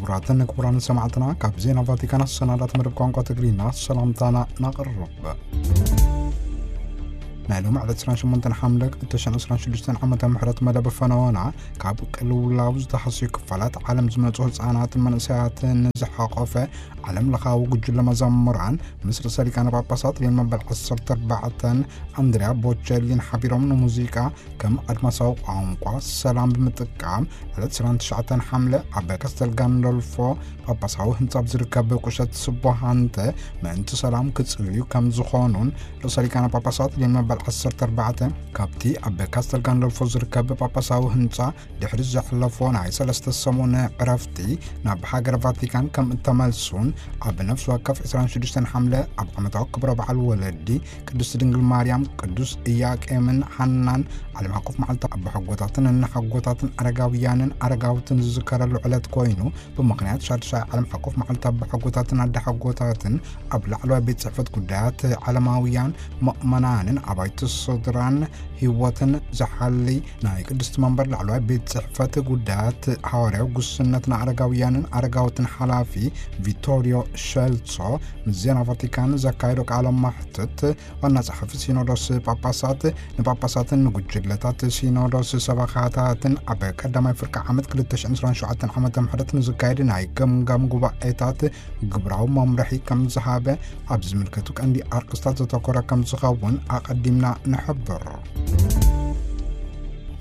ክቡራትን ክቡራን ሰማዕትና፣ ካብ ዜና ቫቲካን ኣሰናዳት መደብ ቋንቋ ትግርኛ ሰላምታና ናቕርብ። ናይ ሎሚ ዕለት ዕስራን ሸሞንተን ሓምለ ክልተ ሽሕን ዕስራን ሽዱሽተን ዓመተ ምሕረት መደብ ፈነወና፣ ካብ ቅልውላው ዝተሓስዩ ክፋላት ዓለም ዝመጹ ህጻናትን መንእሰያትን ዝሓቆፈ ዓለም ለኻዊ ጉጅለ መዘምራን ምስ ርእሰ ሊቃነ ጳጳሳት ሊዮን መበል ዓሰርተ ኣርባዕተን ኣንድሪያ ቦቸሊን ሓቢሮም ንሙዚቃ ከም ኣድማሳዊ ቋንቋ ሰላም ብምጥቃም ዕለት ዕስራን ትሽዓተን ሓምለ ኣብ ካስተል ጋንዶልፎ ጳጳሳዊ ህንጻ ኣብ ዝርከብ ቁሸት ስቦ ሃንተ ምእንቲ ሰላም ክጽልዩ ከም ዝኾኑን ርእሰ ሊቃነ ጳጳሳት ሊዮን መበል ዓሰርተ ኣርባዕተ ካብቲ ኣብ ካስተል ጋንዶልፎ ዝርከብ ጳጳሳዊ ህንጻ ድሕሪ ዘሕለፎ ናይ ሰለስተ ሰሙን ዕረፍቲ ናብ ሃገረ ቫቲካን ከም እተመልሱን ኣብ ነፍሲ ወከፍ ዕስራን ሽዱሽተን ሓምለ ኣብ ዓመታዊ ክብረ በዓል ወለዲ ቅድስቲ ድንግል ማርያም፣ ቅዱስ ኢያቄምን ሓናን ዓለም ሓቆፍ መዓልቲ ኣቦሓጎታትን እናሓጎታትን ኣረጋውያንን ኣረጋውትን ዝዝከረሉ ዕለት ኮይኑ፣ ብምኽንያት ሻድሻይ ዓለም ሓቆፍ መዓልቲ ኣቦሓጎታትን ኣደሓጎታትን ኣብ ላዕለዋይ ቤት ጽሕፈት ጉዳያት ዓለማውያን ምእመናንን ኣባይቲ ስድራን ህይወትን ዝሓሊ ናይ ቅድስቲ መንበር ላዕለዋይ ቤት ጽሕፈት ጉዳያት ሃዋርያዊ ጉስነት ንኣረጋውያንን ኣረጋውትን ሓላፊ ቪቶሪዮ ሸልሶ ምስ ዜና ቫቲካን ዘካየዶ ቃለ ማሕትት፣ ዋና ጸሓፊ ሲኖዶስ ጳጳሳት ንጳጳሳትን ንጉጅለታት ሲኖዶስ ሰበኻታትን ኣብ ቀዳማይ ፍርቂ ዓመት ክልተ ሽሕን ዕስራን ሸውዓተን ዓመተ ምሕረት ንዝካየድ ናይ ገምጋም ጉባኤታት ግብራዊ መምርሒ ከም ዝሃበ ኣብ ዝምልከቱ ቀንዲ ኣርእስታት ዘተኮረ ከም ዝኸውን ኣቐዲምና ንሕብር።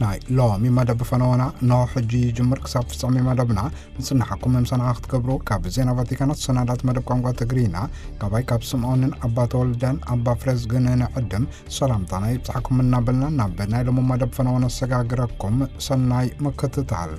ናይ ሎሚ መደብ ፈነወና እንሆ ሕጂ ይጅምር። ክሳብ ፍጻሜ መደብና ምጽናሕኩም ምሳና ክትገብሩ ካብ ዜና ቫቲካን ኣሰናዳት መደብ ቋንቋ ትግርኛ ካባይ ካብ ስምዖንን ኣባ ተወልደን ኣባ ፍሬዝግን ንዕድም ሰላምታና ይብጻሕኩም እናበልና ናብ ናይ ሎሚ መደብ ፈነወ ነሰጋግረኩም። ሰናይ ምክትታል።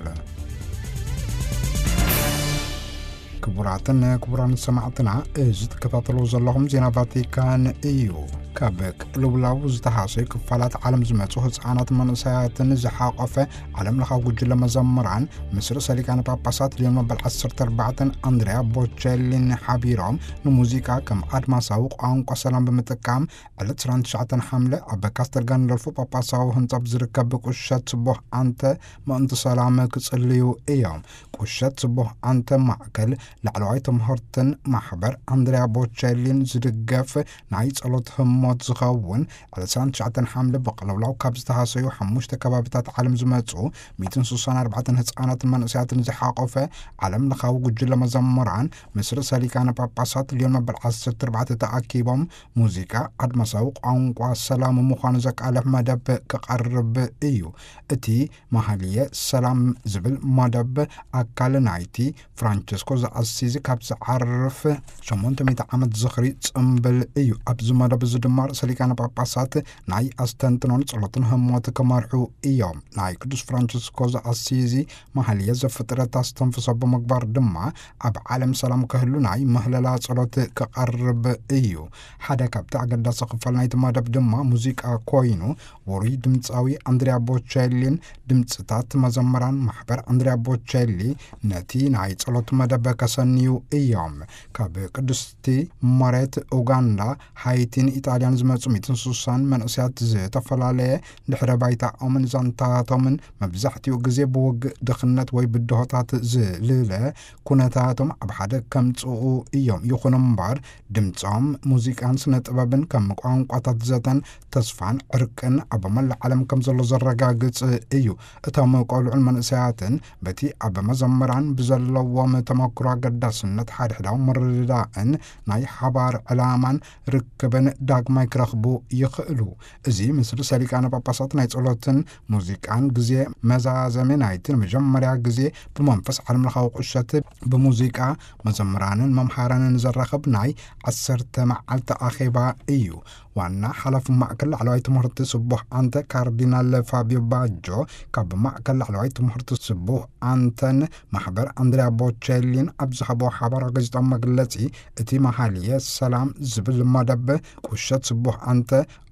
ክቡራትን ክቡራን ሰማዕትና፣ እዚ ትከታተሉ ዘለኹም ዜና ቫቲካን እዩ። ካብ ቅልውላው ዝተሃሰዩ ክፋላት ዓለም ዝመጹ ህጻናት መንእሰያትን ዝሓቆፈ ዓለም ለኻዊ ጉጅለ መዘምራን ምስ ርእሰ ሊቃነ ጳጳሳት ሊዮን መበል ዓሰርተ ኣርባዕተን ኣንድሪያ ቦቸሊን ሓቢሮም ንሙዚቃ ከም ኣድማሳዊ ቋንቋ ሰላም ብምጥቃም ዕለት ዕስራን ትሽዓተን ሓምለ ኣብ ካስተል ጋንዶልፎ ጳጳሳዊ ህንጻ ኣብ ዝርከብ ቁሸት ስቡህ ኣንተ ምእንቲ ሰላም ክጽልዩ እዮም። ቁሸት ስቡህ ኣንተ ማእከል ላዕለዋይ ትምህርትን ማሕበር ኣንድሪያ ቦቸሊን ዝድገፍ ናይ ጸሎት ህሞት ዝኸውን ዕለት ዕስራን ትሽዓተን ሓምለ ብቅልውላው ካብ ዝተሃሰዩ ሓሙሽተ ከባቢታት ዓለም ዝመጹ ሚእትን ስሳን ኣርባዕተን ህጻናትን መንእሰያትን ዝሓቆፈ ዓለም ለኻዊ ጉጅለ መዘምራን ምስ ርእሰ ሊቃነ ጳጳሳት ሊዮን መበል ዓሰርተ ኣርባዕተ ተኣኪቦም ሙዚቃ ኣድማሳዊ ቋንቋ ሰላም ምዃኑ ዘቃልሕ መደብ ክቐርብ እዩ። እቲ መሃልየ ሰላም ዝብል መደብ ኣካል ናይቲ ፍራንቸስኮ ዘኣሲዚ ካብ ዝዓርፍ ሸሞንተ ሚእቲ ዓመት ዝኽሪ ጽምብል እዩ። ኣብዚ መደብ እዚ ድማ ርእሰ ሊቃነ ጳጳሳት ናይ ኣስተንትኖን ጸሎትን ህሞት ክመርሑ እዮም። ናይ ቅዱስ ፍራንቸስኮ ዘኣሲዚ መሃልየ ዘፍጥረት ኣስተንፍሶ ብምግባር ድማ ኣብ ዓለም ሰላም ክህሉ ናይ ምህለላ ጸሎት ክቐርብ እዩ። ሓደ ካብቲ ኣገዳሲ ክፋል ናይቲ መደብ ድማ ሙዚቃ ኮይኑ፣ ውሩይ ድምጻዊ ኣንድሪያ ቦቸሊን ድምጽታት መዘምራን ማሕበር ኣንድሪያ ቦቸሊ ነቲ ናይ ጸሎት መደብ ከሰንዩ እዮም። ካብ ቅድስቲ መሬት ኡጋንዳ፣ ሃይቲን ኢጣልያን ዝመጹ ሚእትን ስሳን መንእሰያት ዝተፈላለየ ድሕረ ባይታኦምን ዛንታቶምን መብዛሕትኡ ግዜ ብውግእ፣ ድኽነት ወይ ብድሆታት ዝልለ ኩነታቶም ኣብ ሓደ ከምጽኡ እዮም። ይኹን እምበር ድምጾም፣ ሙዚቃን ስነ ጥበብን ከም ቋንቋታት ዘተን ተስፋን ዕርቅን ኣብ መላእ ዓለም ከም ዘሎ ዘረጋግጽ እዩ። እቶም ቆልዑን መንእሰያትን በቲ ኣብ መዘምራን ብዘለዎም ተመክሮ ኣገዳስነት ሓድሕዳዊ ምርድዳእን ናይ ሓባር ዕላማን ርክብን ዳግማይ ክረኽቡ ይኽእሉ። እዚ ምስ ርእሰ ሊቃነ ጳጳሳት ናይ ጸሎትን ሙዚቃን ግዜ መዛዘሚ ናይቲ ንመጀመርያ ግዜ ብመንፈስ ዓለምለኻዊ ቁሸት ብሙዚቃ መዘምራንን መምሃራንን ዘራኽብ ናይ ዓሰርተ መዓልቲ ኣኼባ እዩ። ዋና ሓላፊ ማእከል ላዕለዋይ ትምህርቲ ስቡሕ ኣንተ ካርዲናል ፋቢዮ ባጆ ካብ ማእከል ላዕለዋይ ትምህርቲ ስቡሕ ኣንተን ማሕበር ኣንድሪያ ቦቸሊን ኣብ ዝሃቦ ሓባራዊ ጋዜጣዊ መግለጺ፣ እቲ መሃልየ ሰላም ዝብል መደብ ቁሸት ስቡሕ ኣንተ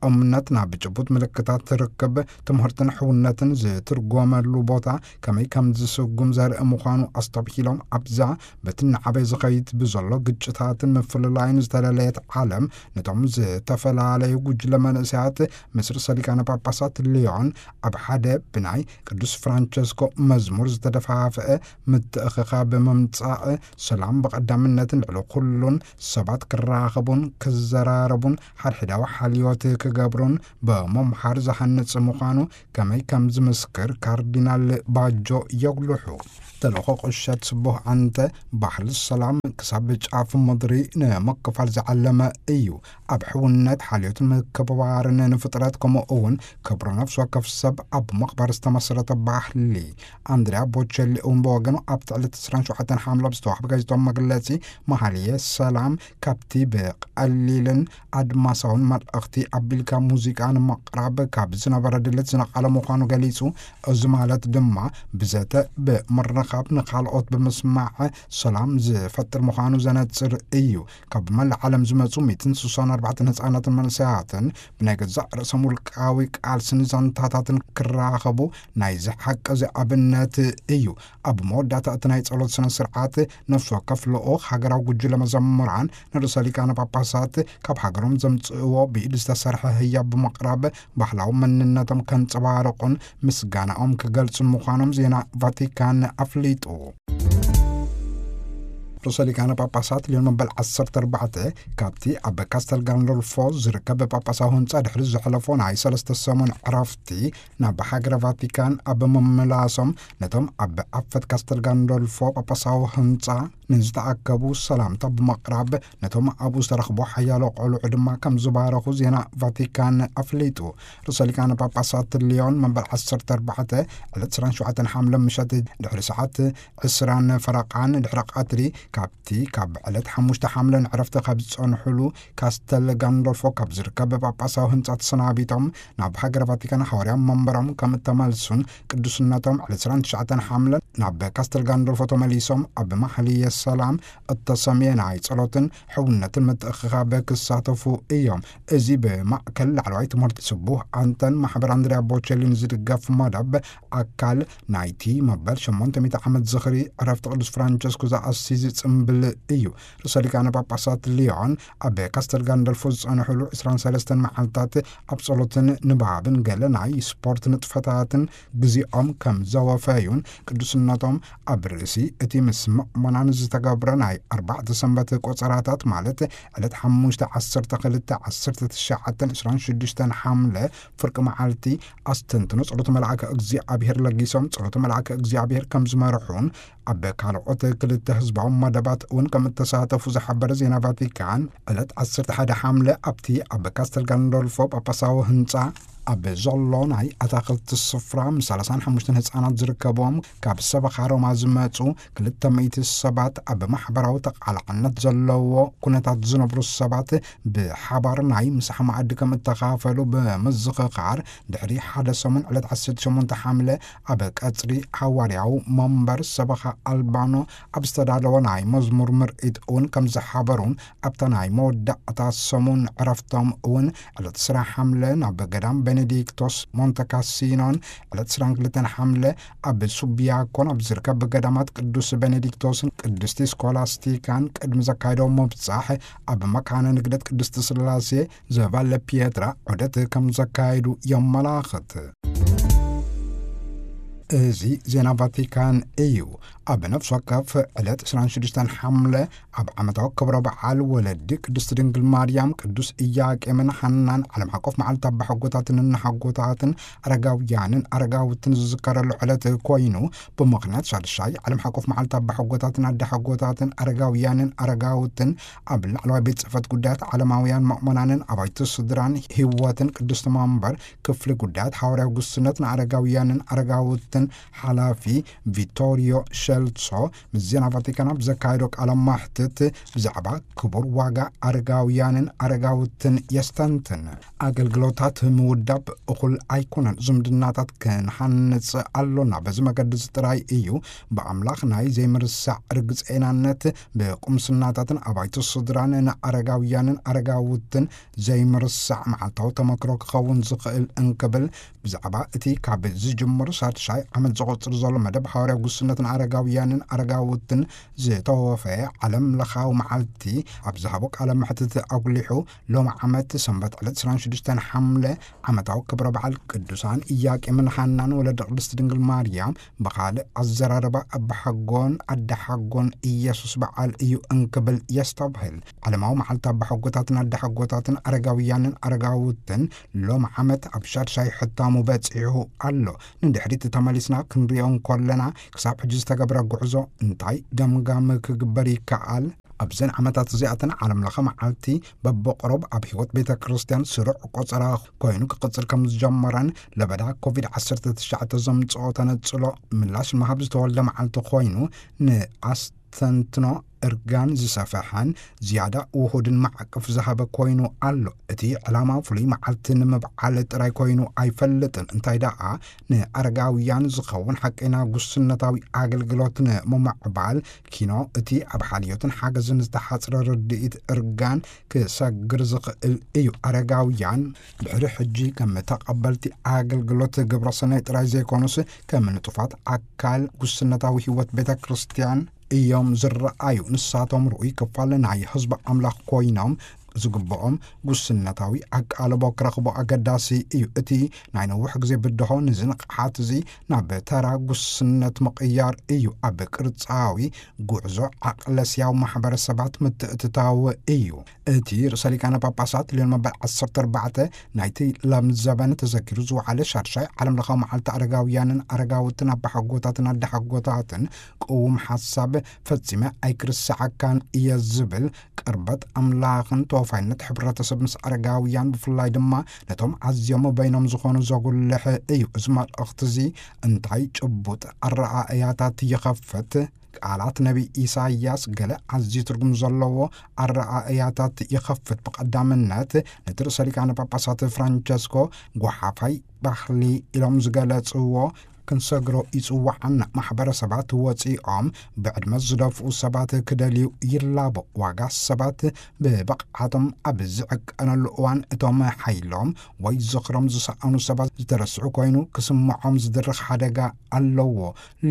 እምነት ናብ ጭቡጥ ምልክታት ርክብ፣ ትምህርትን ሕውነትን ዝትርጎመሉ ቦታ ከመይ ከም ዝስጉም ዘርኢ ምዃኑ ኣስተብሂሎም፣ ኣብዛ በቲ እናዓበየ ዝኸይድ ብዘሎ ግጭታትን ምፍልላይን ዝተለለየት ዓለም ነቶም ዝተፈላ ዝተላለዩ ጉጅለ መንእሰያት ምስ ርእሰ ሊቃነ ጳጳሳት ሊዮን ኣብ ሓደ ብናይ ቅዱስ ፍራንቸስኮ መዝሙር ዝተደፋፍአ ምትእኽኻብ ምምጻእ ሰላም ብቐዳምነትን ልዕሊ ኩሉን ሰባት ክራኸቡን ክዘራረቡን ሓድሕዳዊ ሓልዮት ክገብሩን ብምምሃር ዝሃንጽ ምዃኑ ከመይ ከም ዝምስክር ካርዲናል ባጆ የጉልሑ። ተልእኾ ቁሸት ስቡህ ኣንተ ባህሊ ሰላም ክሳብ ጫፍ ምድሪ ንምክፋል ዝዓለመ እዩ። ኣብ ሕውነት ሓልዮትን ምክብባርን ንፍጥረት ከምኡ እውን ክብሩ ነፍሲ ወከፍ ሰብ ኣብ ምኽባር ዝተመስረተ ባህሊ። ኣንድሪያ ቦቸሊ እውን ብወገኑ ኣብቲ ዕለት ዕስራን ሸውዓተን ሓምለ ብዝተዋህበ ጋዜጣዊ መግለጺ መሃልየ ሰላም ካብቲ ብቐሊልን ኣድማሳውን መልእኽቲ ኣቢልካ ሙዚቃ ንምቕራብ ካብ ዝነበረ ድሌት ዝነቐለ ምዃኑ ገሊጹ። እዚ ማለት ድማ ብዘተ ብምርኻብ ንኻልኦት ብምስማዕ ሰላም ዝፈጥር ምዃኑ ዘነጽር እዩ። ካብ መላእ ዓለም ዝመጹ ሚእትን ስሳን ኣርባዕተን ህጻናትን መንእሰያትን ብናይ ገዛእ ርእሶም ውልቃዊ ቃልስን ዛንታታትን ክራኸቡ ናይዚ ሓቂ እዚ ኣብነት እዩ። ኣብ መወዳእታ እቲ ናይ ጸሎት ስነ ስርዓት ነፍሲ ወከፍ ልኡኽ ሃገራዊ ጉጅለ መዘምራን ንርእሰ ሊቃነ ጳጳሳት ካብ ሃገሮም ዘምጽእዎ ብኢድ ዝተሰርሐ ህያብ ብምቕራብ ባህላዊ መንነቶም ከንጸባርቑን ምስጋናኦም ክገልጹን ምዃኖም ዜና ቫቲካን ኣፍሊጡ። ርእሰ ሊቃነ ጳጳሳት ሊዮን መበል ዓሰርተ ኣርባዕተ ካብቲ ኣብ ካስተል ጋንዶልፎ ዝርከብ ጳጳሳዊ ህንጻ ድሕሪ ዘሕለፎ ናይ ሰለስተ ሰሙን ዕረፍቲ ናብ ሃገረ ቫቲካን ኣብ ምምላሶም ነቶም ኣብ ዓፈት ካስተል ጋንዶልፎ ጳጳሳዊ ህንጻ ንዝተኣከቡ ሰላምታ ብምቕራብ ነቶም ኣብኡ ዝተረኽቡ ሓያሎ ቆልዑ ድማ ከም ዝባረኹ ዜና ቫቲካን ኣፍሊጡ። ርእሰ ሊቃነ ጳጳሳት ሊዮን መንበር ዓሰርተ ኣርባዕተ ዕለት ዕስራን ሸውዓተን ሓምለ ምሸት ድሕሪ ሰዓት ዕስራን ፈረቓን ድሕሪ ቀትሪ ካብቲ ካብ ዕለት ሓሙሽተ ሓምለ ንዕረፍቲ ካብ ዝጸንሑሉ ካስተል ጋንዶልፎ ካብ ዝርከብ ጳጳሳዊ ህንጻ ተሰናቢቶም ናብ ሃገረ ቫቲካን ሓዋርያ መንበሮም ከም እተመልሱን ቅዱስነቶም ዕለት ዕስራን ትሽዓተን ሓምለ ናብ ካስተል ጋንዶልፎ ተመሊሶም ኣብ ማሕልየ ሰላም እተሰምየ ናይ ጸሎትን ሕውነትን ምትእኽኻብ ክሳተፉ እዮም። እዚ ብማእከል ላዕለዋይ ትምህርቲ ስቡህ ኣንተን ማሕበር ኣንድሪያ ቦቸሊን ዝድገፍ መደብ ኣካል ናይቲ መበል ሸሞንተ ሚእቲ ዓመት ዝኽሪ ዕረፍቲ ቅዱስ ፍራንቸስኮ ዘኣስይዝ ጽምብል እዩ። ርእሰ ሊቃነ ጳጳሳት ሊዮን ኣብ ካስተል ጋንደልፎ ዝጸንሕሉ ዕስራን ሰለስተን መዓልታት ኣብ ጸሎትን ንባብን ገለ ናይ ስፖርት ንጥፈታትን ግዜኦም ከም ዘወፈዩን ቅዱስነቶም ኣብ ርእሲ እቲ ምስ ምእመናን ዝተገብረ ናይ ኣርባዕተ ሰንበት ቆጸራታት ማለት ዕለት ሓሙሽተ ዓሰርተ ክልተ ዓሰርተ ትሽዓተን ዕስራን ሽዱሽተን ሓምለ ፍርቂ መዓልቲ ኣስተንትኖ ጸሎት መልኣከ እግዚኣብሔር ለጊሶም ጸሎት መልኣከ እግዚኣብሔር ከም ዝመርሑን ኣብ ካልኦት ክልተ ህዝባዊ መደባት እውን ከም እተሳተፉ ዝሓበረ ዜና ቫቲካን ዕለት ዓሰርተ ሓደ ሓምለ ኣብቲ ኣብ ካስተል ጋንዶልፎ ጳጳሳዊ ህንጻ ኣብ ዘሎ ናይ ኣታኽልቲ ስፍራ ምስ ሰላሳን ሓሙሽተን ህጻናት ዝርከብዎም ካብ ሰበኻ ሮማ ዝመጹ ክልተ ሚእቲ ሰባት ኣብ ማሕበራዊ ተቓላዕነት ዘለዎ ኩነታት ዝነብሩ ሰባት ብሓባር ናይ ምሳሕ መኣዲ ከም እተኻፈሉ ብምዝኽኻር ድሕሪ ሓደ ሰሙን ዕለት ዓሰርተ ሸሞንተ ሓምለ ኣብ ቀጽሪ ሓዋርያዊ መንበር ሰበኻ ኣልባኖ ኣብ ዝተዳለወ ናይ መዝሙር ምርኢት እውን ከም ዝሓበሩን ኣብታ ናይ መወዳእታ ሰሙን ዕረፍቶም እውን ዕለት ዕስራ ሓምለ ናብ ገዳም ቤኔዲክቶስ ሞንተ ካሲኖን ዕለት ዕስራን ክልተን ሓምለ ኣብ ሱቢያኮን ኣብ ዝርከብ ገዳማት ቅዱስ ቤኔዲክቶስን ቅድስቲ ስኮላስቲካን ቅድሚ ዘካየደዎ ምብጻሕ ኣብ መካነ ንግደት ቅድስቲ ስላሴ ዘባለ ፒየትራ ዑደት ከም ዘካየዱ የመላኽት። እዚ ዜና ቫቲካን እዩ። ኣብ ነፍሲ ወከፍ ዕለት ዕስራን ሽዱሽተን ሓምለ ኣብ ዓመታዊ ክብረ በዓል ወለዲ ቅድስቲ ድንግል ማርያም፣ ቅዱስ ኢያቄምን ሓናን ዓለም ሓቆፍ መዓልቲ ኣባሓጎታትን እናሓጎታትን ኣረጋውያንን ኣረጋውትን ዝዝከረሉ ዕለት ኮይኑ፣ ብምኽንያት ሻድሻይ ዓለም ሓቆፍ መዓልቲ ኣባሓጎታትን ኣደሓጎታትን ኣረጋውያንን ኣረጋውትን ኣብ ላዕለዋይ ቤት ጽሕፈት ጉዳያት ዓለማውያን መእመናንን ኣባይቲ ስድራን ህይወትን ቅድስቲ መንበር ክፍሊ ጉዳያት ሓዋርያዊ ጉስነት ንኣረጋውያንን ኣረጋውትን ሓላፊ ቪቶሪዮ ሸልሶ ምስ ዜና ቫቲካን ኣብ ዘካየዶ ቃለ ማሕትት ብዛዕባ ክቡር ዋጋ ኣረጋውያንን ኣረጋውትን የስተንትን። ኣገልግሎታት ምውዳብ እኹል ኣይኮነን። ዝምድናታት ክንሓንጽ ኣሎና። በዚ መገዲ እዚ ጥራይ እዩ ብኣምላኽ ናይ ዘይምርሳዕ ርግጸይናነት ብቁምስናታትን ኣባይቲ ስድራን ንኣረጋውያንን ኣረጋውትን ዘይምርሳዕ መዓልታዊ ተመክሮ ክኸውን ዝኽእል እንክብል ብዛዕባ እቲ ካብ ዝጅምር ሳድሻይ ዓመት ዘቖጽር ዘሎ መደብ ሓዋርያዊ ጉስነት ንኣረጋውያን ኣረጋውያንን ኣረጋውትን ዝተወፈየ ዓለም ለኻዊ መዓልቲ ኣብ ዝሃቦ ቃለ መሕትት ኣጉሊሑ፣ ሎሚ ዓመት ሰንበት ዕለት ዕስራን ሽዱሽተን ሓምለ ዓመታዊ ክብረ በዓል ቅዱሳን ኢያቄምን ሃናን ወለደ ቅድስት ድንግል ማርያም ብኻልእ ኣዘራርባ ኣባሓጎን ኣደሓጎን ኢየሱስ በዓል እዩ እንክብል የስተብህል። ዓለማዊ መዓልቲ ኣባሓጎታትን ኣደሓጎታትን ኣረጋውያንን ኣረጋውትን ሎም ዓመት ኣብ ሻድሻይ ሕታሙ በጺሑ ኣሎ። ንድሕሪት ተመሊስና ክንሪኦ እንኮለና፣ ክሳብ ሕጂ ዝተገብረ ጉዕዞ እንታይ ገምጋም ክግበር ይከኣል? ኣብዘን ዓመታት እዚኣተን ዓለም ለኸ መዓልቲ በብቕሩብ ኣብ ህይወት ቤተ ክርስቲያን ስሩዕ ቆጸራ ኮይኑ ክቕጽል ከም ዝጀመረን ለበዳ ኮቪድ ዓሰርተ ትሽዓተ ዘምጽኦ ተነጽሎ ምላሽ መሃብ ዝተወልደ መዓልቲ ኮይኑ ንኣስተንትኖ እርጋን ዝሰፈሐን ዝያዳ ውሁድን ማዕቀፍ ዝሃበ ኮይኑ ኣሎ። እቲ ዕላማ ፍሉይ መዓልቲ ንምብዓል ጥራይ ኮይኑ ኣይፈልጥን። እንታይ ደኣ ንኣረጋውያን ዝኸውን ሓቀይና ጉስነታዊ ኣገልግሎት ንምምዕባል ኪኖ እቲ ኣብ ሓልዮትን ሓገዝን ዝተሓጽረ ርድኢት እርጋን ክሰግር ዝኽእል እዩ። ኣረጋውያን ድሕሪ ሕጂ ከም ተቐበልቲ ኣገልግሎት ግብረ ሰናይ ጥራይ ዘይኮኑስ ከም ንጡፋት ኣካል ጉስነታዊ ህይወት ቤተ ክርስቲያን እዮም ዝረኣዩ። ንሳቶም ርኡይ ክፋል ናይ ህዝቢ ኣምላኽ ኮይኖም ዝግብኦም ጉስነታዊ ኣቃልቦ ክረኽቡ ኣገዳሲ እዩ። እቲ ናይ ነዊሕ ግዜ ብድሆ ንዚ ንቕሓት እዚ ናብ ተራ ጉስነት ምቕያር እዩ። ኣብ ቅርጻዊ ጉዕዞ ዓቕለስያዊ ማሕበረሰባት ምትእትታው እዩ። እቲ ርእሰ ሊቃነ ጳጳሳት ልዮን መበል ዓሰርተ ኣርባዕተ ናይቲ ለም ዘበን ተዘኪሩ ዝወዓለ ሻድሻይ ዓለም ለኻዊ መዓልቲ ኣረጋውያንን ኣረጋውትን ኣባሓጎታትን ኣደሓጎታትን ቅዉም ሓሳብ ፈጺመ ኣይክርስዓካን እየ ዝብል ቅርበት ኣምላኽን ተወፋይነት ሕብረተሰብ ምስ ኣረጋውያን ብፍላይ ድማ ነቶም ኣዝዮም በይኖም ዝኾኑ ዘጉልሕ እዩ። እዚ መልእኽቲ እዚ እንታይ ጭቡጥ ኣረኣእያታት ይኸፍት? ቃላት ነቢይ ኢሳይያስ ገለ ኣዝዩ ትርጉም ዘለዎ ኣረኣእያታት ይኸፍት። ብቐዳምነት ነቲ ርእሰ ሊቃነ ጳጳሳት ፍራንቸስኮ ጓሓፋይ ባህሊ ኢሎም ዝገለጽዎ ክንሰግሮ ይጽውዓና። ማሕበረሰባት ወጺኦም ብዕድመ ዝደፍኡ ሰባት ክደልዩ ይላቦ። ዋጋ ሰባት ብብቕዓቶም ኣብ ዝዕቀነሉ እዋን እቶም ሓይሎም ወይ ዝኽሮም ዝሰኣኑ ሰባት ዝተረስዑ ኮይኑ ክስምዖም ዝድርኽ ሓደጋ ኣለዎ።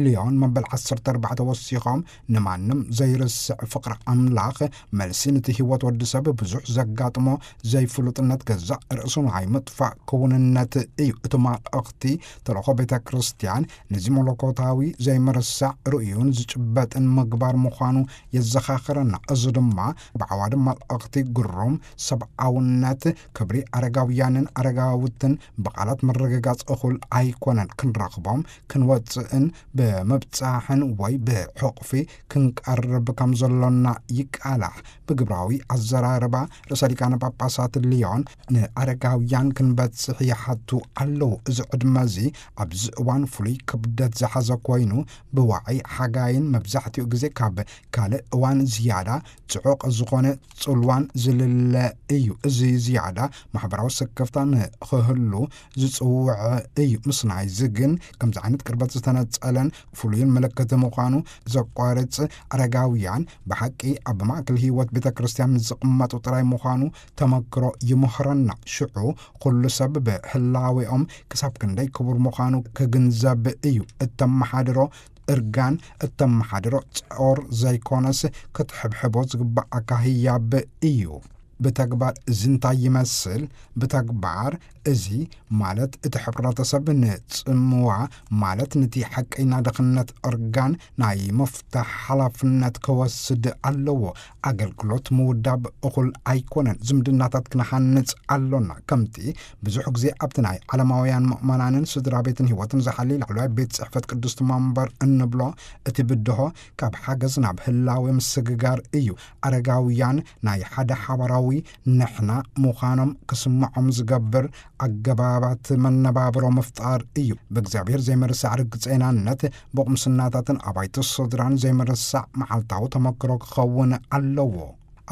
ሊዮን መበል ዓሰርተ ኣርባዕተ ወሲኾም ንማንም ዘይርስዕ ፍቕሪ ኣምላኽ መልሲ ንቲ ህይወት ወዲ ሰብ ብዙሕ ዘጋጥሞ ዘይፍሉጥነት ገዛእ ርእሱ ናይ ምጥፋእ ክውንነት እዩ። እቲ መልእኽቲ ተልእኾ ቤተ ክርስቲያን ነዚ መለኮታዊ ዘይምርሳዕ ርእዩን ዝጭበጥን ምግባር ምዃኑ የዘኻኽረና። እዚ ድማ ብዓዋዲ መልእኽቲ ግሩም ሰብኣውነት ክብሪ ኣረጋውያንን ኣረጋውትን ብቓላት ምርግጋጽ እኹል ኣይኮነን። ክንረኽቦም ክንወጽእን ብምብጻሕን ወይ ብሕቕፊ ክንቀርብ ከም ዘሎና ይቃላሕ። ብግብራዊ ኣዘራርባ ርእሰ ሊቃነ ጳጳሳት ሊዮን ንኣረጋውያን ክንበጽሕ ይሓቱ ኣለዉ። እዚ ዕድመ እዚ ኣብዚ እዋን ፍሉይ ክብደት ዝሓዘ ኮይኑ ብዋዒ ሓጋይን መብዛሕትኡ ግዜ ካብ ካልእ እዋን ዝያዳ ጽዑቕ ዝኾነ ጽልዋን ዝልለ እዩ። እዚ ዝያዳ ማሕበራዊ ስክፍታ ንኽህሉ ዝጽውዕ እዩ። ምስ ናይዚ ግን ከምዚ ዓይነት ቅርበት ዝተነጸለን ፍሉይን ምልክት ምዃኑ ዘቋርጽ ኣረጋውያን ብሓቂ ኣብ ማእከል ህይወት ቤተ ክርስቲያን ዝቕመጡ ጥራይ ምዃኑ ተመክሮ ይምህረና። ሽዑ ኩሉ ሰብ ብህላዌኦም ክሳብ ክንደይ ክቡር ምዃኑ ክግንዘብ እዩ። እተመሓድሮ እርጋን እተመሓድሮ ጾር ዘይኮነስ ክትሕብሕቦ ዝግባኣካ ህያብ እዩ። ብተግባር እዚ እንታይ ይመስል? ብተግባር እዚ ማለት እቲ ሕብረተሰብ ንጽምዋ ማለት ንቲ ሓቀይና ድኽነት እርጋን ናይ ምፍታሕ ሓላፍነት ክወስድ ኣለዎ። ኣገልግሎት ምውዳብ እኹል ኣይኮነን። ዝምድናታት ክንሃንጽ ኣሎና። ከምቲ ብዙሕ ግዜ ኣብቲ ናይ ዓለማውያን ምእመናንን ስድራ ቤትን ህይወትን ዝሓሊ ላዕለዋይ ቤት ጽሕፈት ቅዱስ መንበር እንብሎ እቲ ብድሆ ካብ ሓገዝ ናብ ህላዌ ምስግጋር እዩ። ኣረጋውያን ናይ ሓደ ሓባራዊ ንሕና ምዃኖም ክስምዖም ዝገብር ኣገባባት መነባብሮ ምፍጣር እዩ። ብእግዚኣብሔር ዘይምርሳዕ ርግጸይናነት ብቑምስናታትን ኣባይቲ ስድራን ዘይምርሳዕ መዓልታዊ ተመክሮ ክኸውን ኣለዎ።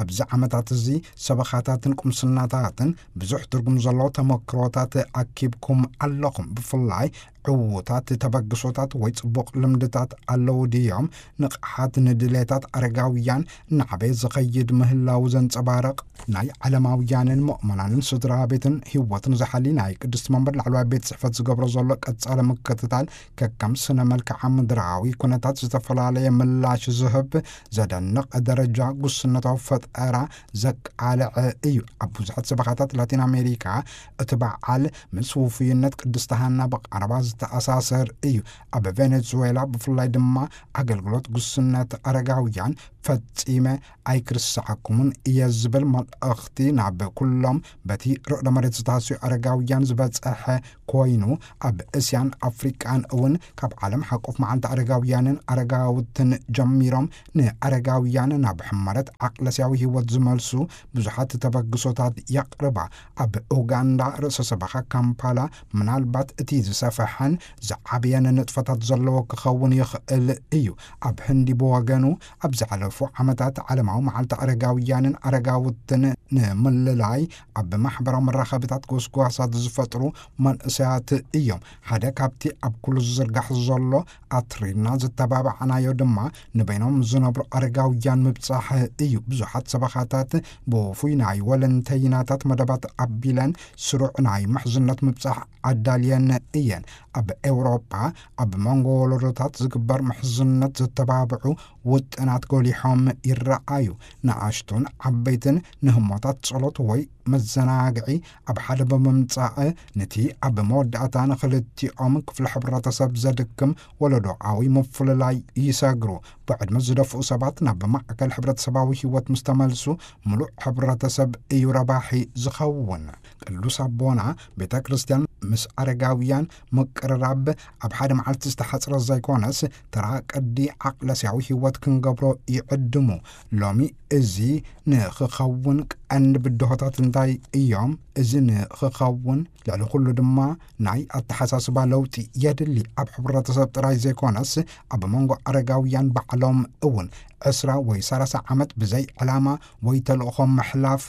ኣብዚ ዓመታት እዚ ሰበኻታትን ቁምስናታትን ብዙሕ ትርጉም ዘለዎ ተመክሮታት ኣኪብኩም ኣለኹም። ብፍላይ ዕዉታት ተበግሶታት ወይ ጽቡቕ ልምድታት ኣለዉ ድዮም? ንቕሓት ንድሌታት ኣረጋውያን እናዓበየ ዝኸይድ ምህላዉ ዘንጸባርቕ ናይ ዓለማውያንን ምእመናንን ስድራ ቤትን ህይወትን ዝሓሊ ናይ ቅድስቲ መንበር ላዕለዋይ ቤት ጽሕፈት ዝገብሮ ዘሎ ቀጻሊ ምክትታል፣ ከከም ስነ መልክዓ ምድራዊ ኩነታት ዝተፈላለየ ምላሽ ዝህብ ዘደንቕ ደረጃ ጉስነታዊ ፈጠራ ዘቃልዐ እዩ። ኣብ ብዙሓት ሰበኻታት ላቲን ኣሜሪካ እቲ በዓል ምስ ውፉይነት ቅድስቲ ሃና ብቐረባ ዝተኣሳሰር እዩ። ኣብ ቬኔዙዌላ ብፍላይ ድማ ኣገልግሎት ጉስነት ኣረጋውያን ፈጺመ ኣይክርስዓኩምን እየ ዝብል መልእኽቲ ናብ ኩሎም በቲ ርዕደ መሬት ዝታስዩ ኣረጋውያን ዝበጽሐ ኮይኑ፣ ኣብ እስያን ኣፍሪቃን እውን ካብ ዓለም ሓቆፍ መዓልቲ ኣረጋውያንን ኣረጋውትን ጀሚሮም ንኣረጋውያን ናብ ሕመረት ዓቅለስያዊ ህይወት ዝመልሱ ብዙሓት ተበግሶታት የቕርባ። ኣብ ኡጋንዳ ርእሰ ሰበኻ ካምፓላ ምናልባት እቲ ዝሰፈሐን ዝዓበየን ንጥፈታት ዘለዎ ክኸውን ይኽእል እዩ። ኣብ ህንዲ ብወገኑ ኣብ ዝሓለፉ ዓመታት ዓለማዊ መዓልቲ ኣረጋውያንን ኣረጋውትን ንምልላይ ኣብ ማሕበራዊ መራኸብታት ጎስጓሳት ዝፈጥሩ መንእሰያት እዮም። ሓደ ካብቲ ኣብ ኩሉ ዝዝርጋሕ ዘሎ ኣትሪርና ዝተባባዕናዮ ድማ ንበይኖም ዝነብሩ ኣረጋውያን ምብጻሕ እዩ። ብዙሓት ሰበኻታት ብውፉይ ናይ ወለንተይናታት መደባት ኣቢለን ስሩዕ ናይ ምሕዝነት ምብጻሕ ኣዳልየን እየን። ኣብ ኤውሮጳ ኣብ መንጎ ወለዶታት ዝግበር ምሕዝነት ዘተባብዑ ውጥናት ጎሊሖም ይረኣዩ። ንኣሽቱን ዓበይትን ንህሞታት ጸሎት ወይ መዘናግዒ ኣብ ሓደ ብምምጻእ፣ ነቲ ኣብ መወዳእታ ንኽልቲኦም ክፍሊ ሕብረተሰብ ዘድክም ወለዶኣዊ ምፍልላይ ይሰግሩ። ብዕድመ ዝደፍኡ ሰባት ናብ ማእከል ሕብረተሰባዊ ህይወት ምስ ተመልሱ፣ ምሉእ ሕብረተሰብ እዩ ረባሒ ዝኸውን። ቅዱስ ኣቦና፣ ቤተ ክርስቲያን ምስ ኣረጋውያን ምቅርራብ ኣብ ሓደ መዓልቲ ዝተሓጽረ ዘይኮነስ፣ ተራ ቅዲ ዓቅለስያዊ ህይወት ክንገብሮ ይዕድሙ። ሎሚ እዚ ንኽኸውን ቀንዲ ብድሆታት እንታይ እዮም? እዚ ንኽኸውን ልዕሊ ኩሉ ድማ ናይ ኣተሓሳስባ ለውጢ የድሊ። ኣብ ሕብረተሰብ ጥራይ ዘይኮነስ፣ ኣብ መንጎ ኣረጋውያን ባዕሎም እውን። ዕስራ ወይ ሰላሳ ዓመት ብዘይ ዕላማ ወይ ተልእኾ ምሕላፍ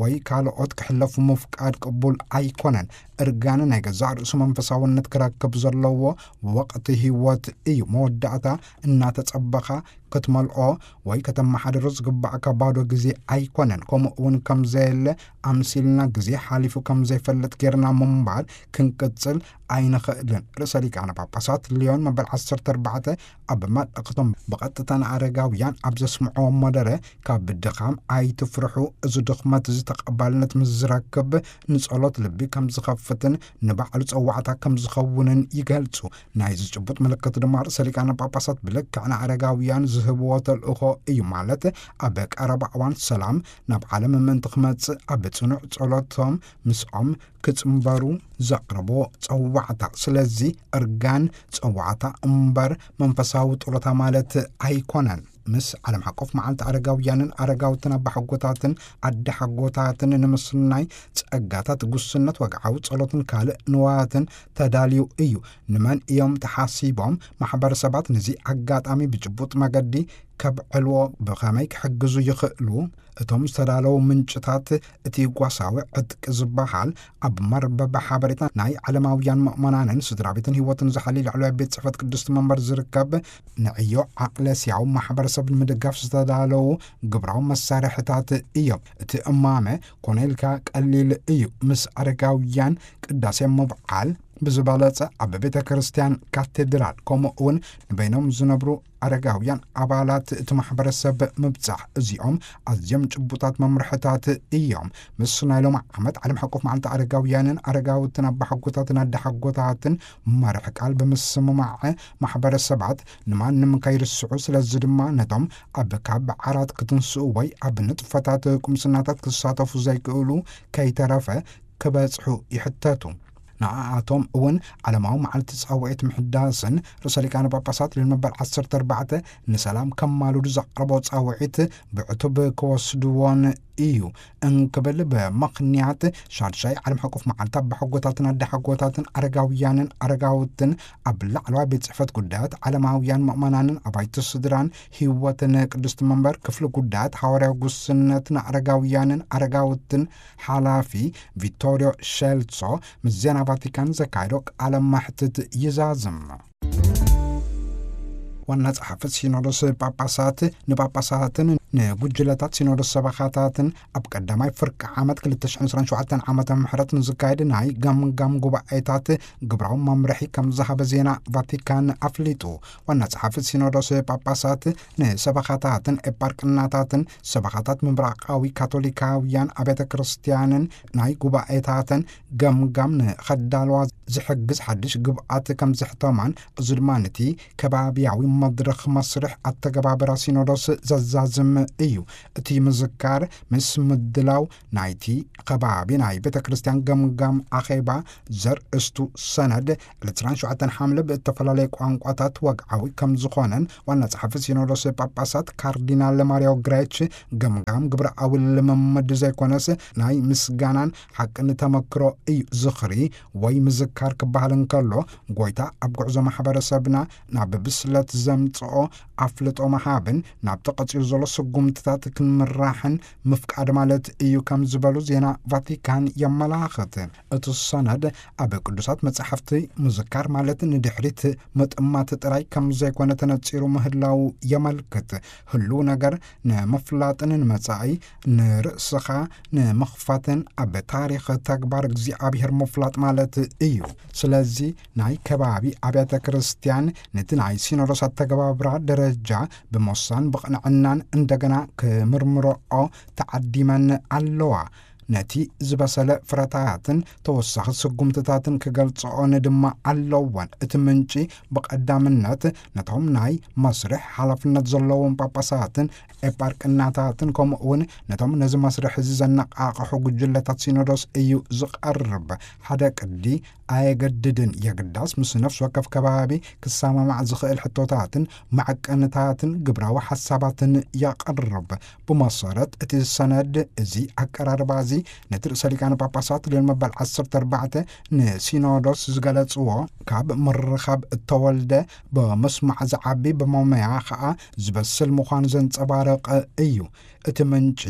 ወይ ካልኦት ክሕለፉ ምፍቃድ ቅቡል ኣይኮነን። እርጋን ናይ ገዛእ ርእሱ መንፈሳውነት ክረክብ ዘለዎ ወቕቲ ህይወት እዩ። መወዳእታ እናተጸበኻ ክትመልኦ ወይ ከተመሓድሮ ዝግባእካ ባዶ ግዜ ኣይኮነን። ከምኡ እውን ከም ዘየለ ኣምሲልና፣ ግዜ ሓሊፉ ከም ዘይፈልጥ ጌርና ምንባር ክንቅጽል ኣይንኽእልን። ርእሰ ሊቃነ ጳጳሳት ሊዮን መበል ዓሰርተ ኣርባዕተ ኣብ መልእኽቶም ብቐጥታ ንኣረጋውያን ኣብ ዘስምዕዎ መደረ፣ ካብ ድኻም ኣይትፍርሑ፣ እዚ ድኽመት እዚ ተቐባልነት ምስ ዝረክብ ንጸሎት ልቢ ከም ዝኸፍትን ንባዕሉ ጸዋዕታ ከም ዝኸውንን ይገልጹ። ናይዚ ጭቡጥ ምልክት ድማ ርእሰ ሊቃነ ጳጳሳት ብልክዕ ንኣረጋውያን ዝህብዎ ተልእኾ እዩ፣ ማለት ኣብ ቀረባ እዋን ሰላም ናብ ዓለም ምእንቲ ክመጽእ ኣብ ጽኑዕ ጸሎቶም ምስኦም ክጽንበሩ ዘቕርቦ ጸዋዕታ። ስለዚ እርጋን ጸዋዕታ እምበር መንፈሳዊ ጥሮታ ማለት ኣይኮነን። ምስ ዓለም ሓቆፍ መዓልቲ ኣረጋውያንን ኣረጋውትን ኣባሓጎታትን ኣደሓጎታትን ንምስናይ ጸጋታት ጉስነት፣ ወግዓዊ ጸሎትን ካልእ ንዋያትን ተዳልዩ እዩ። ንመን እዮም ተሓሲቦም? ማሕበረሰባት ነዚ ኣጋጣሚ ብጭቡጥ መገዲ ከብዕልዎ ብኸመይ ክሕግዙ ይኽእሉ? እቶም ዝተዳለዉ ምንጭታት እቲ ጓሳዊ ዕጥቂ ዝበሃል ኣብ መርበብ ሓበሬታ ናይ ዓለማውያን ምእመናንን ስድራ ቤትን ህይወትን ዝሓሊ ላዕለዋይ ቤት ጽሕፈት ቅድስቲ መንበር ዝርከብ ንዕዮ ዓቕለስያዊ ማሕበረሰብ ንምድጋፍ ዝተዳለዉ ግብራዊ መሳርሕታት እዮም። እቲ እማመ ኮነ ኢልካ ቀሊል እዩ። ምስ ኣረጋውያን ቅዳሴ ምብዓል ብዝበለጸ ኣብ ቤተ ክርስቲያን ካቴድራል፣ ከምኡ እውን ንበይኖም ዝነብሩ ኣረጋውያን ኣባላት እቲ ማሕበረሰብ ምብጻሕ፣ እዚኦም ኣዝዮም ጭቡጣት መምርሕታት እዮም። ምስ ናይ ሎሚ ዓመት ዓለም ሓቆፍ መዓልቲ ኣረጋውያንን ኣረጋውትን ኣባሓጎታትን ኣደሓጎታትን መርሕ ቃል ብምስምማዕ፣ ማሕበረሰባት ንማንም ከይርስዑ፣ ስለዚ ድማ ነቶም ኣብ ካብ ዓራት ክትንስኡ ወይ ኣብ ንጥፈታት ቁምስናታት ክሳተፉ ዘይክእሉ ከይተረፈ ክበጽሑ ይሕተቱ። ንኣኣቶም እውን ዓለማዊ መዓልቲ ጻውዒት ምሕዳስን ርእሰ ሊቃነ ጳጳሳት ልዮን መበል ዓሰርተ ኣርባዕተ ንሰላም ከማልዱ ዘቕረቦ ጻውዒት ብዕቱብ ክወስድዎን እዩ እንክብል ብምኽንያት ሻድሻይ ዓለም ሓቆፍ መዓልቲ ኣባሓጎታትን ኣደሓጎታትን ኣረጋውያንን ኣረጋውትን ኣብ ላዕለዋይ ቤት ጽሕፈት ጉዳያት ዓለማውያን ምእመናንን ኣባይቲ ስድራን ህይወትን ቅድስቲ መንበር ክፍሊ ጉዳያት ሃዋርያዊ ጉስነት ንኣረጋውያንን ኣረጋውትን ሓላፊ ቪቶሪዮ ሼልሶ ምስ ዜና ቫቲካን ዘካየዶ ቃለ ማሕትት ይዛዝም። ዋና ጸሓፊ ሲኖዶስ ጳጳሳት ንጳጳሳትን ንጉጅለታት ሲኖዶስ ሰበኻታትን ኣብ ቀዳማይ ፍርቂ ዓመት ክልተ ሽሕን ዕስራን ሸውዓተን ዓመተ ምሕረት ንዝካየድ ናይ ገምጋም ጉባኤታት ግብራዊ መምርሒ ከም ዝሃበ ዜና ቫቲካን ኣፍሊጡ። ዋና ጸሓፊ ሲኖዶስ ጳጳሳት ንሰበኻታትን ኤጳርቅናታትን ሰበኻታት ምብራቓዊ ካቶሊካውያን ኣብያተ ክርስቲያንን ናይ ጉባኤታተን ገምጋም ንኸዳልዋ ዝሕግዝ ሓድሽ ግብኣት ከም ዘሕተማን፣ እዚ ድማ ነቲ ከባቢያዊ መድረኽ መስርሕ ኣተገባብራ ሲኖዶስ ዘዛዝም እዩ። እቲ ምዝካር ምስ ምድላው ናይቲ ከባቢ ናይ ቤተ ክርስቲያን ገምጋም ኣኼባ ዘርእስቱ ሰነድ ዕለት ዕስራን ሸውዓተን ሓምለ ብእተፈላለየ ቋንቋታት ወግዓዊ ከም ዝኾነን ዋና ጸሓፊ ሲኖዶስ ጳጳሳት ካርዲናል ማሪዮ ግሬች ገምጋም ግብረኣዊ ልምምድ ዘይኮነስ ናይ ምስጋናን ሓቅን ተመክሮ እዩ። ዝኽሪ ወይ ምዝካር ክበሃል እንከሎ፣ ጎይታ ኣብ ጉዕዞ ማሕበረሰብና ናብ ብስለት ዘምጽኦ ኣፍልጦ ምሃብን ናብቲ ቀጺሉ ዘሎ ስጉምትታት ክንምራሕን ምፍቃድ ማለት እዩ ከም ዝበሉ ዜና ቫቲካን የመላኽት። እቲ ሰነድ ኣብ ቅዱሳት መጻሕፍቲ ምዝካር ማለት ንድሕሪት ምጥማት ጥራይ ከም ዘይኮነ ተነጺሩ ምህላው የመልክት። ህሉው ነገር ንምፍላጥን ንመጻኢ ንርእስኻ ንምኽፋትን ኣብ ታሪኽ ተግባር እግዚኣብሔር ምፍላጥ ማለት እዩ። ስለዚ ናይ ከባቢ ኣብያተ ክርስቲያን ነቲ ናይ ሲኖዶስ ኣተገባብራ ደረጃ ብሞሳን ብቕንዕናን እንደገና ክምርምሮኦ ተዓዲመን ኣለዋ። ነቲ ዝበሰለ ፍረታትን ተወሳኺ ስጉምትታትን ክገልጽኦን ድማ ኣለወን። እቲ ምንጪ ብቐዳምነት ነቶም ናይ መስርሕ ሓላፍነት ዘለዎም ጳጳሳትን ኤጳርቅናታትን ከምኡ እውን ነቶም ነዚ መስርሕ እዚ ዘነቓቕሑ ጉጅለታት ሲኖዶስ እዩ ዝቐርብ። ሓደ ቅዲ ኣየገድድን፣ የግዳስ ምስ ነፍሲ ወከፍ ከባቢ ክሰማማዕ ዝኽእል ሕቶታትን መዐቀንታትን ግብራዊ ሓሳባትን የቕርብ። ብመሰረት እቲ ሰነድ እዚ ኣቀራርባ እዚ ነቲ ርእሰ ሊቃነ ጳጳሳት ሊዮን መበል ዓሰርተ ኣርባዕተ ንሲኖዶስ ዝገለጽዎ ካብ ምርኻብ እተወልደ ብምስማዕ ዝዓቢ ብመመያ ኸኣ ዝበስል ምዃኑ ዘንጸባርቕ እዩ። እቲ ምንጪ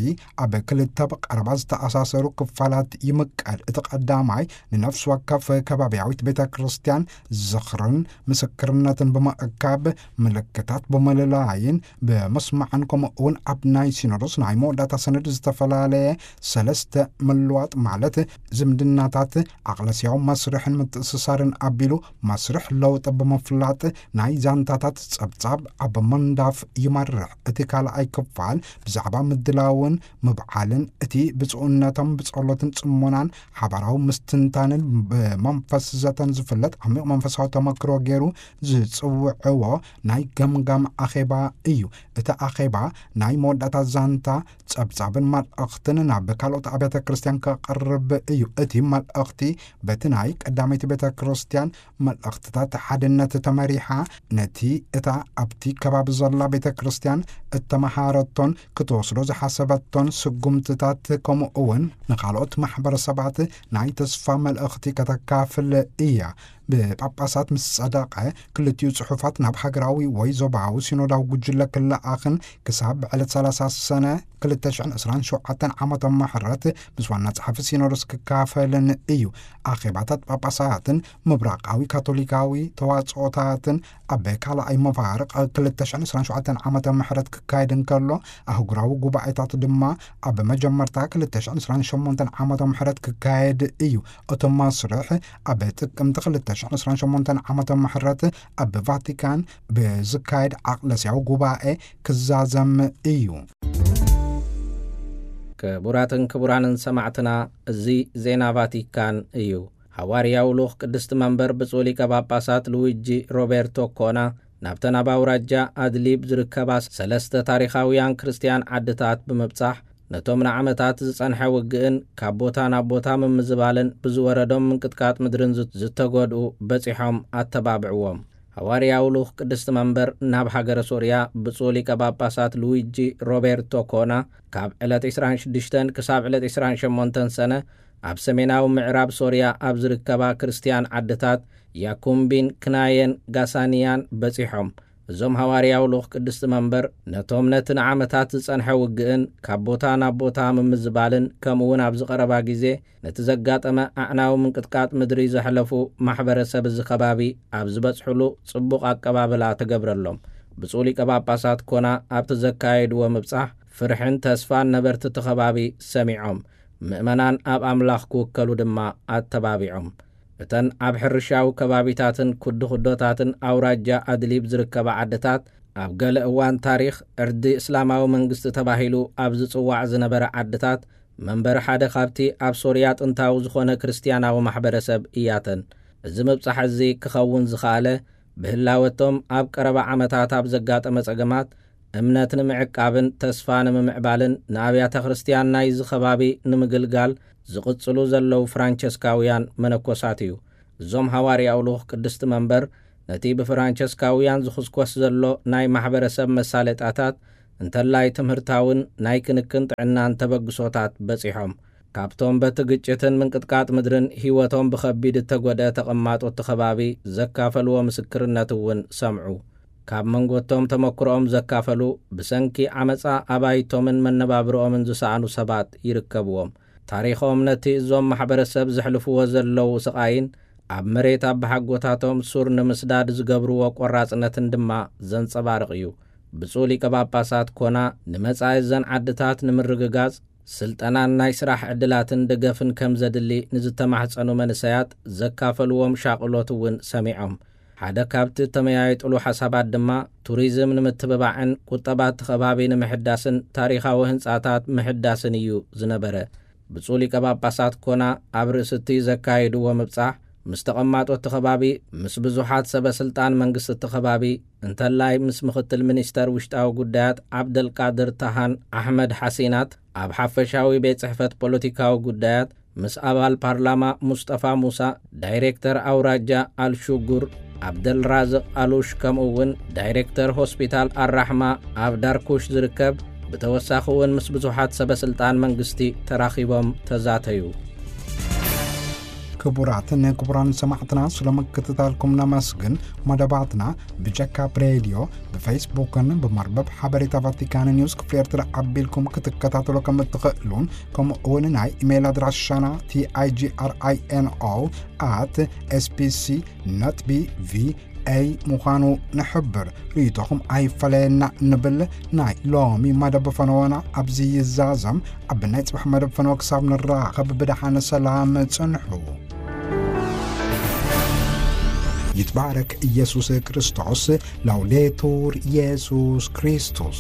ኣብ ክልተ ብቐረባ ዝተኣሳሰሩ ክፋላት ይምቀል። እቲ ቀዳማይ ንነፍሲ ወከፍ ከባብያዊት ቤተ ክርስቲያን ዝኽርን ምስክርነትን ብምእካብ ምልክታት ብምልላይን ብምስማዕን ከምኡ እውን ኣብ ናይ ሲኖዶስ ናይ መወዳእታ ሰነድ ዝተፈላለየ ሰለስተ ምልዋጥ ማለት ዝምድናታት ኣቕለስያዊ መስርሕን ምትእስሳርን ኣቢሉ መስርሕ ለውጢ ብምፍላጥ ናይ ዛንታታት ጸብጻብ ኣብ ምንዳፍ ይመርሕ። እቲ ካልኣይ ክፋል ብዛዕባ ምድላውን ምብዓልን እቲ ብፁዕነቶም ብጸሎትን ጽሞናን ሓባራዊ ምስትንታንን ብመንፈስ ዘተን ዝፍለጥ ዓሚቕ መንፈሳዊ ተመክሮ ገይሩ ዝጽውዕዎ ናይ ገምጋም ኣኼባ እዩ። እቲ ኣኼባ ናይ መወዳእታ ዛንታ ጸብጻብን መልእኽትን ናብ ካልኦት ኣብያተ ክርስቲያን ከቕርብ እዩ። እቲ መልእኽቲ በቲ ናይ ቀዳመይቲ ቤተ ክርስቲያን መልእኽትታት ሓድነት ተመሪሓ፣ ነቲ እታ ኣብቲ ከባቢ ዘላ ቤተ ክርስቲያን እተመሃረቶን ክትወስዶ ዝሓሰበቶን ስጉምትታት፣ ከምኡ እውን ንኻልኦት ማሕበረሰባት ናይ ተስፋ መልእኽቲ ከተካፍል እያ። ብጳጳሳት ምስ ጸደቐ፣ ክልቲኡ ጽሑፋት ናብ ሃገራዊ ወይ ዞባዊ ሲኖዳዊ ጉጅለ ክለኣኽን ክሳብ ዕለት ሰላሳ ሰነ ክልተ ሽሕን ዕስራን ሸውዓተን ዓመተ ምሕረት ምስ ዋና ጸሓፊ ሲኖዶስ ክካፈልን እዩ። ኣኼባታት ጳጳሳትን ምብራቓዊ ካቶሊካዊ ተዋጽኦታትን ኣብ ካልኣይ መፋርቕ ክልተ ሽሕን ዕስራን ሸውዓተን ዓመተ ምሕረት ክካየድ እንከሎ፣ ኣህጉራዊ ጉባኤታት ድማ ኣብ መጀመርታ ክልተ ሽሕን ዕስራን ሸሞንተን ዓመተ ምሕረት ክካየድ እዩ። እቲ መስርሕ ኣብ ጥቅምቲ ክልተ ሽሕን ዕስራን ሸሞንተን ዓመተ ምሕረት ኣብ ቫቲካን ብዝካየድ ዓቕለስያዊ ጉባኤ ክዛዘም እዩ። ክቡራትን ክቡራንን ሰማዕትና፣ እዚ ዜና ቫቲካን እዩ። ሃዋርያዊ ልኡኽ ቅድስቲ መንበር ብፁዕ ሊቀ ጳጳሳት ሉዊጂ ሮቤርቶ ኮና ናብተን ኣብ ኣውራጃ ኣድሊብ ዝርከባ ሰለስተ ታሪኻውያን ክርስትያን ዓድታት ብምብጻሕ፣ ነቶም ንዓመታት ዝጸንሐ ውግእን ካብ ቦታ ናብ ቦታ ምምዝባልን ብዝወረዶም ምንቅጥቃጥ ምድርን ዝ-፣ ዝተጎድኡ በጺሖም ኣተባብዕዎም። ሃዋርያዊ ልኡኽ ቅድስቲ መንበር ናብ ሃገረ ሶርያ ብፁዕ ሊቀ ጳጳሳት ሉዊጂ ሮቤርቶ ኮና ካብ ዕለት ዕስራን ሽዱሽተን ክሳብ ዕለት ዕስራን ሸሞንተን ሰነ ኣብ ሰሜናዊ ምዕራብ ሶርያ ኣብ ዝርከባ ክርስትያን ዓድታት ያኩምቢን፣ ክናየን፣ ጋሳንያን በጺሖም። እዞም ሃዋርያዊ ልኡኽ ቅድስቲ መንበር ነቶም ነቲ ንዓመታት ዝጸንሐ ውግእን ካብ ቦታ ናብ ቦታ ምምዝባልን፣ ከምኡ እውን ኣብዚ ቀረባ ግዜ ነቲ ዘጋጠመ ኣዕናዊ ምንቅጥቃጥ ምድሪ ዘሕለፉ ማሕበረሰብ እዚ ከባቢ ኣብ ዝበጽሕሉ ጽቡቕ ኣቀባብላ ተገብረሎም። ብፁዕ ሊቀ ጳጳሳት ኮና ኣብቲ ዘካየድዎ ምብጻሕ፣ ፍርሕን ተስፋን ነበርቲ እቲ ከባቢ ሰሚዖም፣ ምእመናን ኣብ ኣምላኽ ክውከሉ ድማ ኣተባቢዖም። እተን ኣብ ሕርሻዊ ከባቢታትን ኩድኩዶታትን ኣውራጃ ኣድሊብ ዝርከባ ዓድታት፣ ኣብ ገለ እዋን ታሪኽ ዕርዲ እስላማዊ መንግስቲ ተባሂሉ ኣብ ዝጽዋዕ ዝነበረ ዓድታት፣ መንበሪ ሓደ ካብቲ ኣብ ሶርያ ጥንታዊ ዝኾነ ክርስትያናዊ ማሕበረሰብ እያተን። እዚ ምብጻሕ እዚ ክኸውን ዝኸኣለ፣ ብህላወቶም ኣብ ቀረባ ዓመታት ኣብ ዘጋጠመ ጸገማት፣ እምነት ንምዕቃብን ተስፋ ንምምዕባልን፣ ንኣብያተ ክርስትያን ናይዚ ከባቢ ንምግልጋል ዝቕጽሉ ዘለዉ ፍራንቸስካውያን መነኮሳት እዩ። እዞም ሃዋርያዊ ልኡኽ ቅድስቲ መንበር፣ ነቲ ብፍራንቸስካውያን ዝኹስኮስ ዘሎ ናይ ማሕበረሰብ መሳለጣታት፣ እንተላይ ትምህርታውን ናይ ክንክን ጥዕናን ተበግሶታት በጺሖም። ካብቶም በቲ ግጭትን ምንቅጥቃጥ ምድርን ህይወቶም ብኸቢድ እተጎድአ ተቐማጦ እቲ ከባቢ ዘካፈልዎ ምስክርነት እውን ሰምዑ። ካብ መንጎቶም ተመክሮኦም ዘካፈሉ፣ ብሰንኪ ዓመጻ ኣባይቶምን መነባብሮኦምን ዝሰኣኑ ሰባት ይርከብዎም። ታሪኾም ነቲ እዞም ማሕበረሰብ ዘሕልፍዎ ዘለዉ ስቓይን ኣብ መሬት ኣባሓጎታቶም ሱር ንምስዳድ ዝገብርዎ ቆራጽነትን ድማ ዘንጸባርቕ እዩ። ብፁዕ ሊቀ ጳጳሳት ኮና ንመጻኢ እዘን ዓድታት ንምርግጋጽ ስልጠናን ናይ ስራሕ ዕድላትን ደገፍን ከም ዘድሊ ንዝተማሕጸኑ መንእሰያት ዘካፈልዎም ሻቕሎት እውን ሰሚዖም። ሓደ ካብቲ እተመያየጥሉ ሓሳባት ድማ ቱሪዝም ንምትብባዕን ቁጠባ እቲ ከባቢ ንምሕዳስን ታሪኻዊ ህንጻታት ምሕዳስን እዩ ዝነበረ። ብፁዕ ሊቀ ጳጳሳት ኮና ኣብ ርእሲ እቲ ዘካየድዎ ምብጻሕ፣ ምስ ተቐማጦ እቲ ከባቢ፣ ምስ ብዙሓት ሰበ ስልጣን መንግስቲ እቲ ከባቢ፣ እንተላይ ምስ ምኽትል ሚኒስተር ውሽጣዊ ጉዳያት ዓብደልቃድር ታሃን ኣሕመድ ሓሲናት፣ ኣብ ሓፈሻዊ ቤት ጽሕፈት ፖለቲካዊ ጉዳያት ምስ ኣባል ፓርላማ ሙስጠፋ ሙሳ፣ ዳይሬክተር ኣውራጃ ኣልሹጉር፣ ዓብደልራዝቕ ኣሉሽ፣ ከምኡ እውን ዳይሬክተር ሆስፒታል ኣራሕማ ኣብ ዳርኩሽ ዝርከብ፣ ብተወሳኺ እውን ምስ ብዙሓት ሰበ ስልጣን መንግስቲ ተራኺቦም ተዛተዩ። ክቡራትን ክቡራን ሰማዕትና፣ ስለ ምክትታልኩም ነመስግን። መደባትና ብጀካ ብሬድዮ፣ ብፌስቡክን ብመርበብ ሓበሬታ ቫቲካን ኒውስ ክፍሊ ኤርትራ ኣቢልኩም ክትከታተሉ ከም እትኽእሉን፣ ከምኡ እውን ናይ ኢሜይል ኣድራሻና ቲኣይጂኣርኣይኤንኦ ኣት ኤስቢሲ ነት ቢ ቪ ኤይ ምዃኑ ንሕብር። ርእይቶኹም ኣይፈለየና ንብል። ናይ ሎሚ መደብ ፈነወና ኣብዚ ይዛዘም። ኣብ ናይ ጽባሕ መደብ ፈነወ ክሳብ ንራኸብ ብደሓን ሰላም ጽንሑ። ይትባረክ ኢየሱስ ክርስቶስ። ላውዴቱር ኢየሱስ ክርስቶስ።